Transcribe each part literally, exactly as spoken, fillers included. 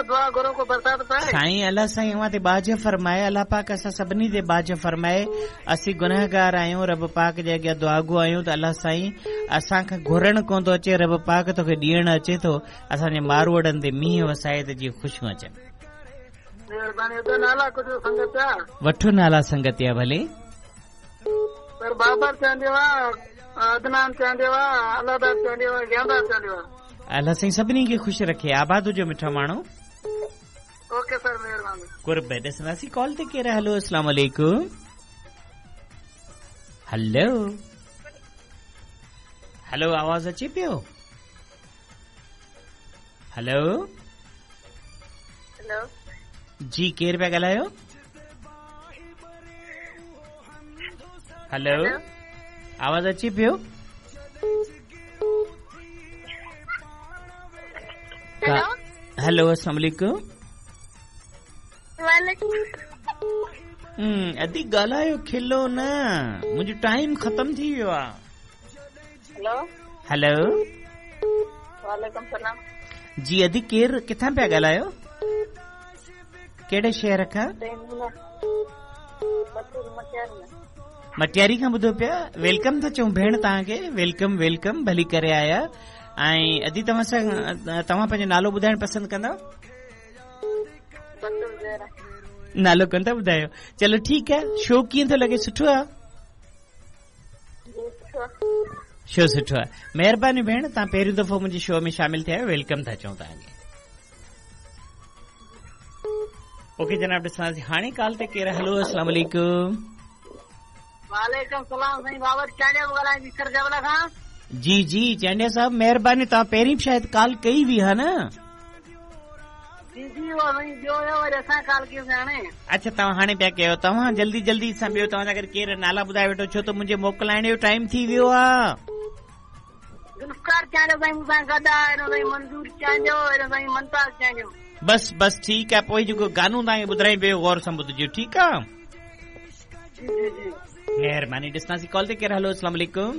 दुआ घुरो को बरसात पए। साईं अल्लाह साईं अव्हां ते बाज फरमाए, अल्लाह पाक असां सभिनी ते बाज फरमाए। असीं गुनहगार आहियूं, रब पाक जे अॻियां दुआगो आहियूं त अल्लाह साईं असांखे घुरणु कोन थो अचे, रब पाक तोखे ॾियणु अचे थो। असांजे मारूअड़नि ते मींहुं वसाए त जीअं ख़ुशियूं अचनि। महिरबानी। त नाला कुझु संगत जा वठो नाला संगत जा भले। सर बाबर चांडियो आहे, अदनान चांडियो आहे, अलादार चांडियो आहे, ज्ञानदार चांडियो आहे। अल्लाह साईं सभिनी खे ख़ुशि रखे। आबाद हुजो मिठा माण्हू। ओके सर, महिरबानी। कुर्ब। ॾिसंदासीं कॉल ते केरु आहे। हलो, अस्सलाम वालेकुम। हलो हलो, आवाज़ अचे पियो? हलो हेलो जी, केरु पिया ॻाल्हायो? हलो, आवाज़ अचे पियो? हेलो, अस्सलाम वालेकुम। हम्म, अदी ॻाल्हायो, खिलो न, मुंहिंजो टाइम ख़तम थी वियो आहे। हेलो हेलो, वालेकुम सलाम। जी अदी, केरु किथां पिया ॻाल्हायो? कहिड़े शहर खां? मटियारी खां ॿुधो पिया। Welcome था चऊं भेण तव्हांखे, welcome welcome, भली करे आया। ऐं अदी तव्हां सां, तव्हां पंहिंजो नालो ॿुधाइणु पसंदि कंदव? नालो कोन था ॿुधायो? चलो ठीकु आहे। शो कीअं थो लॻे? सुठो आहे? शो सुठो आहे। महिरबानी भेण, तव्हां पहिरियों दफ़ो मुंहिंजे शो में शामिल थिया आहियो, welcome था चऊं तव्हांखे। ओके जनाब, ॾिसंदासीं हाणे कॉल ते केरु। हलो, अस्सलाम वालेकुम। वालेकुम सलाम। साईं बाबर चांडिया ॻाल्हायां थी सर जबला खां। जी जी चांडिया साहब, महिरबानी। तव्हां पहिरीं बि शायदि कॉल कई हुई हा न? जी जी, उहो साईं ॿियो हुयो, वरी असां कॉल कयूंसीं हाणे। अच्छा, तव्हां हाणे पिया कयो। तव्हां जल्दी जल्दी सां ॿियो तव्हां अगरि केरु नाला ॿुधाए वेठो, छो त मुंहिंजे मोकिलाइण जो टाइम थी वियो आहे। जुल्फकार चांडियो साईं मूंसां गॾु आहे, साईं मंज़ूर चांडियो, साईं मुमताज़ चांडियो। बसि बसि ठीकु आहे। पोइ जेको गानो तव्हांखे ॿुधायां पियो, गौर सां ॿुधजो, ठीकु आहे? जी जी जी, महिरबानी। ॾिसंदासीं कॉल ते केरु। हलो, अस्सलाम वालेकुम।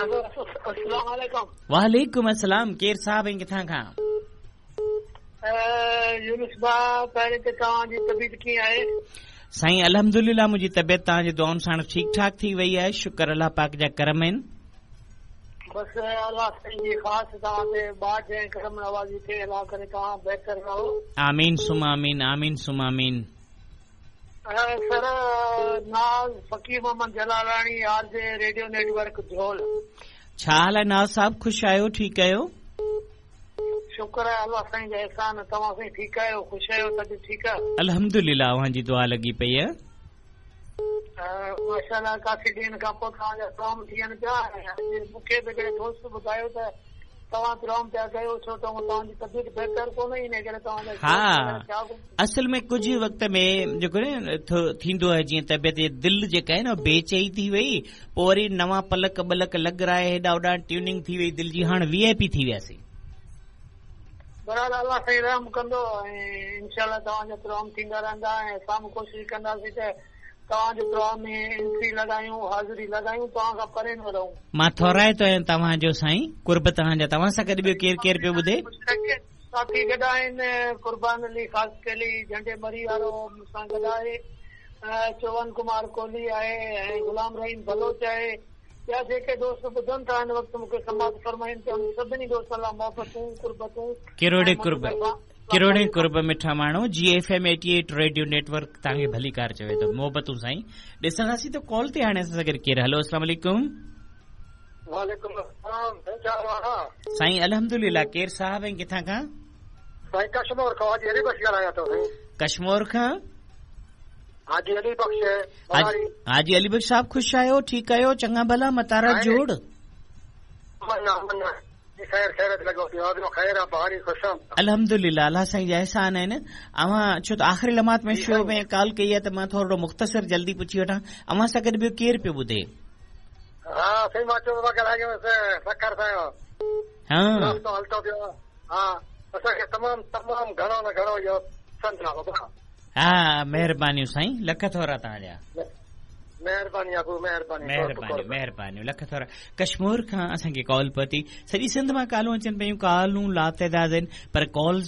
अस्सलाम वालेकुम। वालेकुम अस्सलाम। केरु साहब ऐं किथां खां? यूनुस भाउ, पहिरीं त तव्हांजी तबीयत कीअं आहे? साईं अल्हम्दुलिल्लाह, मुंहिंजी तबीयत तव्हांजी दुआउनि सां ठीकु ठाक थी वई आहे, शुक्र अल्लाह पाक जा करम आहिनि। बसि अल्लाह साईं जी ख़ासि तव्हां ते बाज ऐं करम नवाज़ी थिए, अल्लाह करे तव्हां बहितर रहो। आमीन सुम आमीन, आमीन सुम आमीन। Sir Naz Faqir Mohammad Jalalani, R J radio network Jhol. छा हाल आहे नाज़ साहब? ख़ुशि आहियो? ठीकु आहियो? शुक्र आहे अल्लाह साईं जा एहसान। तव्हां साईं ठीकु आहियो, ख़ुशि आहियो? तबियत ठीकु आहे? अल्हम्दुलिल्लाह, अव्हांजी दुआ लॻी पई आहे। माशाअल्लाह, काफ़ी ॾींहनि खां पोइ तव्हांजा प्रोग्राम थियनि पिया। मूंखे बि हिकिड़े दोस्त ॿुधायो त तव्हां प्रोग्राम पिया कयो, छो त तव्हांजी तबियत बहितर कोन्हे, इन करे तव्हांजा। हा, असल में कुझु वक़्त में जेको न थींदो आहे, जीअं तबियत दिलि जेका आहे न बेचई थी वई, पोइ वरी नवां पलक बलक लॻराए हेॾा होॾा ट्यूनिंग थी वई दिलि जी, हाणे वी I P थी वियासीं। बहरहाल अल्लाह साईं रहम कंदो ऐं इंशाअल्लाह तव्हांजा प्रोग्राम थींदा रहंदा ऐं असां बि कोशिशि कंदासीं त तव्हांजे प्रोग्राम में एंट्री लॻायूं, हाज़िरी लॻायूं, तव्हां खां परे न रहूं। मां थोराइतो आहियां तव्हांजो साईं, कुर्ब तव्हांजा। तव्हां सां गॾु ॿियो केरु केरु पियो ॿुधे? साथी गॾु आहिनि, कुर्बान अली ख़ासकेली झंडे मरी वारो मूंसां गॾु आहे, चोवन कुमार कोहली आहे ऐं ग़ुलाम रहीम बलोच आहे। ॿिया जेके दोस्त ॿुधनि था हिन वक़्तु मूंखे समाज फरमाइनि था, सभिनी दोस्तनि लाइ मोहबतूं, कुर्बतूं, किरोड़े कुर्ब, किरोड़े कुर्ब मिठा माण्हू। G F M eighty eight radio network तव्हांखे भलीकार चवे थो। मोहबतूं साईं। ॾिसंदासीं त कॉल ते हाणे असां सां गॾु केरु। हलो, अस्सलाम वालेकुम। वालेकुम अस्सलाम। साईं अल्हम्दुलिल्लाह। केरु साहब ऐं किथां खां? साईं कश्मोर खां, हाजी अली बख्श ॻाल्हायां थो। साईं कश्मोर खां हाजी अली बख्श। हाजी अली बख्श साहब, ख़ुशि आहियो? ठीकु आहियो? चङा भला? मतारा जोड़? अल्हम्दुलिल्लाह, अल्लाह साईं जा एहसान आहिनि। अव्हां छो त आख़िरी लम्हात में शो में कॉल कई आहे त मां थोरो मुख़्तसर जल्दी पुछी वठां, अव्हां सां गॾु ॿियो केरु पियो ॿुधे? हा, महिरबानियूं साईं, लख थोरा तव्हांजा। महिरबानी अबू, महिरबानी, महिरबानी, महिरबानी, लख थोरा। कश्मोर खां असांखे कॉल पहुती। सॼी सिंध मां कॉलूं अचनि पयूं, कॉलूं लातादाद आहिनि, पर कॉल्स